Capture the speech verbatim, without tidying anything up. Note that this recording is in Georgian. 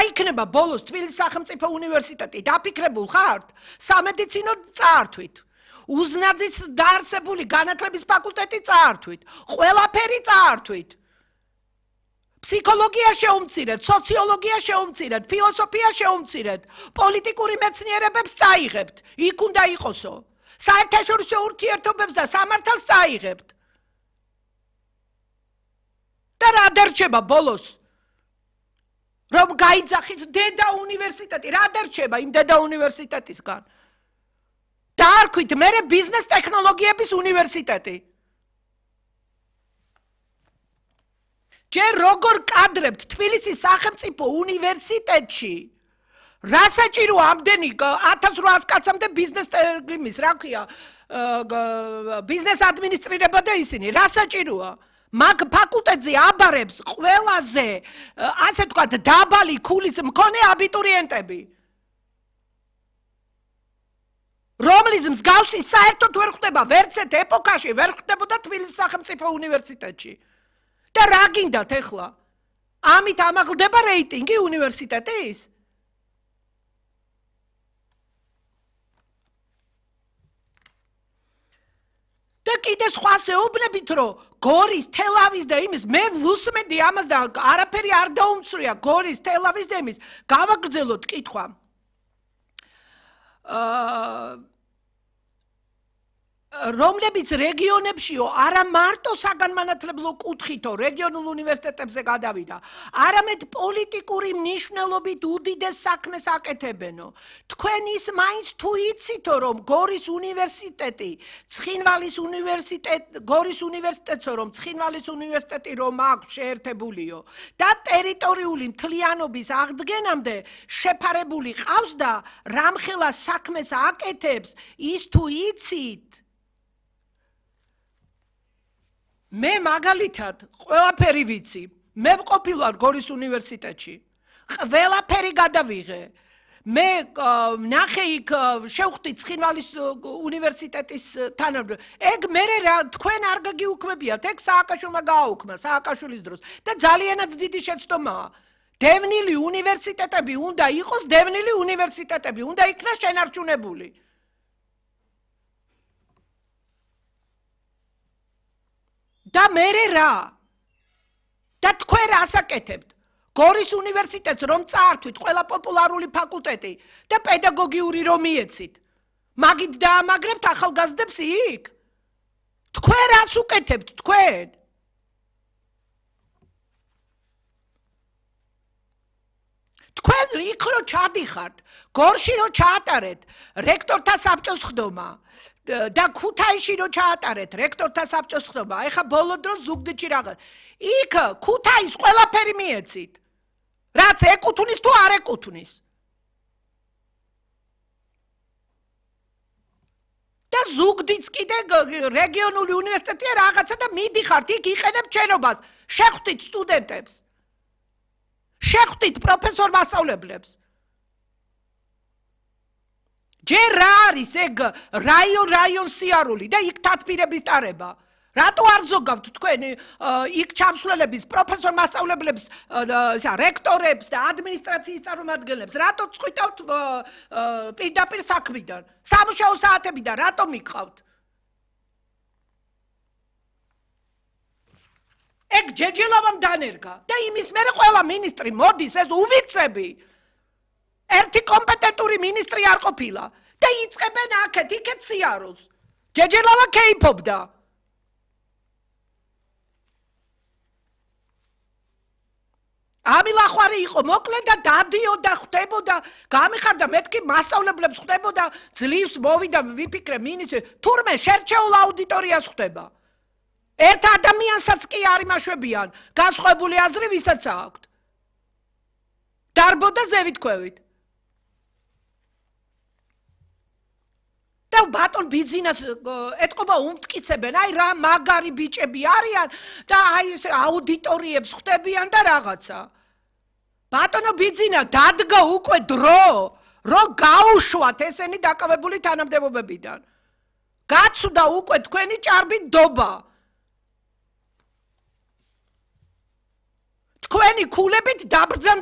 იქნება ბოლოს თბილისის სახელმწიფო უნივერსიტეტი დაფიქრებულ ხართ სამედიცინო წაართვით უზნაძის დაარსებული განათლების ფაკულტეტი წაართვით ყველაფერი წაართვით ფსიქოლოგია შეუმცირეთ სოციოლოგია შეუმცირეთ ფილოსოფია შეუმცირეთ პოლიტიკური მეცნიერებებს წაიღებთ იქ უნდა იყოსო საერთაშორისო ურთიერთობებს და სამართალს წაიღებთ და რა დარჩება ბოლოს რომ გაიძახით დედა უნივერსიტეტი რა დარჩება იმ დედა უნივერსიტეტისგან დაარქვით მერე ბიზნეს ტექნოლოგიების უნივერსიტეტი ჯერ როგორ კადრებთ თბილისის სახელმწიფო უნივერსიტეტში რა საჭირო ამდენი ათას რვაას კაცამდე ბიზნეს იმის რა ქვია ბიზნეს ადმინისტრირება და ისინი რა საჭიროა მაგ ფაკულტეტზე აბარებს ყველაზე ასე ვთქვათ დაბალი ქულის მქონე აბიტურიენტები რომლის მსგავსი საერთოდ ვერ ხდება ვერცეთ ეპოქაში ვერ ხდებოდა თბილისის სახელმწიფო უნივერსიტეტში და რა გინდათ ეხლა ამით ამაღლდება რეიტინგი უნივერსიტეტის და კიდე სხვა შეუბნებით რომ გორის თელავის და იმის მე ვუსმენდი ამას და არაფერი არ დაუმცრია გორის თელავის და იმის გავაგრძელოთ კითხვა აა რომლებიც რეგიონებშიო არა მარტო საგანმანათლებლო კუთხითო რეგიონულ უნივერსიტეტებზე გადავიდა არამედ პოლიტიკური მნიშვნელობით უდიდეს საქმეს აკეთებენო თქვენ ის მაინც თუ იცითო რომ გორის უნივერსიტეტი ცხინვალის უნივერსიტეტ გორის უნივერსიტეტსო რომ ცხინვალის უნივერსიტეტი რომ აქვს შეერთებულიო და ტერიტორიული მთლიანობის აღდგენამდე შეფარებული ყავს და რამხელა საქმეს აკეთებს ის თუ იცით მე მაგალითად ყველაფერი ვიცი მე ვყოფილვარ გორის უნივერსიტეტში ყველაფერი გადავიღე მე ნახე იქ შევხვდი ცხინვალის უნივერსიტეტის თანამდებობ ეგ მე თქვენ არ გაგიუქმებიათ ეგ სააკაშვილმა გააუქმა სააკაშვილის დროს და ძალიანაც დიდი შეცდომაა დევნილი უნივერსიტეტები უნდა იყოს დევნილი უნივერსიტეტები უნდა იქნას შენარჩუნებული და მერე რა და თქვენ რას აკეთებთ გორის უნივერსიტეტს რომ წაართვით ყველა პოპულარული ფაკულტეტი და პედაგოგიური რომ მიეცით მაგით დაამაგრებთ ახალგაზრდებს იქ თქვენ რას უკეთებთ თქვენ თქვენ იქ რო ჩადიხართ გორში რო ჩაატარეთ რექტორთა საბჭოს ხდომა და ქუთაისში რო ჩაატარეთ რექტორთა საბჭოს ხდომა ეხა ბოლო დროს ზუგდიდში რაღაც იქ ქუთაის ყველაფერი მიეცით რაც ეკუთვნის თუ არ ეკუთვნის და ზუგდიდს კიდე რეგიონული უნივერსიტეტია რაღაცა და მიდიხართ იქ იყენებთ შენობას შეხვდით სტუდენტებს შეხვდით პროფესორ მასწავლებლებს ჯერ რა არის ეგ რაიონ რაიონ სიარული და იქ თათბირების ტარება რატო არ ზოგავთ თქვენ იქ ჩამსვლელების პროფესორ მასწავლებლებს რექტორებს და ადმინისტრაციის წარმომადგენლებს რატო წყვიტავთ პირდაპირ საქმიდან სამუშაო საათებიდან რატო მიყავთ ეგ ჯეჯელავამ დანერგა და იმის მერე ყველა მინისტრი მოდის ეს უვიცები ერთი კომპეტენტური მინისტრი არ ყოფილა და იწყებენ აქეთ იქეთ სიარულს ჯეჯელავა კეიფობდა ამილახვარი იყო მოკლედ და დადიოდა ხდებოდა გამიხარდა მეთქი მასწავლებლებს ხდებოდა ძლივს მოვიდა ვიფიქრე მინისტრი თურმე შერჩეულ აუდიტორიას ხდება ერთ ადამიანსაც კი არ იმაშვებიან განსხვავებული აზრი ვისაც აქვთ დარბოდა ზევითქვევით და ბატონ ბიძინას ეთყობა უმტკიცებენ აი რა მაგარი ბიჭები არიან და აი ეს აუდიტორიებს ხდებიან და რაღაცა ბატონო ბიძინა დადგა უკვე დრო რომ გაუშვათ ესენი დაკავებული თანამდებობებიდან გაცვდა უკვე თქვენი ჭარბი დობა თქვენი ქულებით დაბრძანდა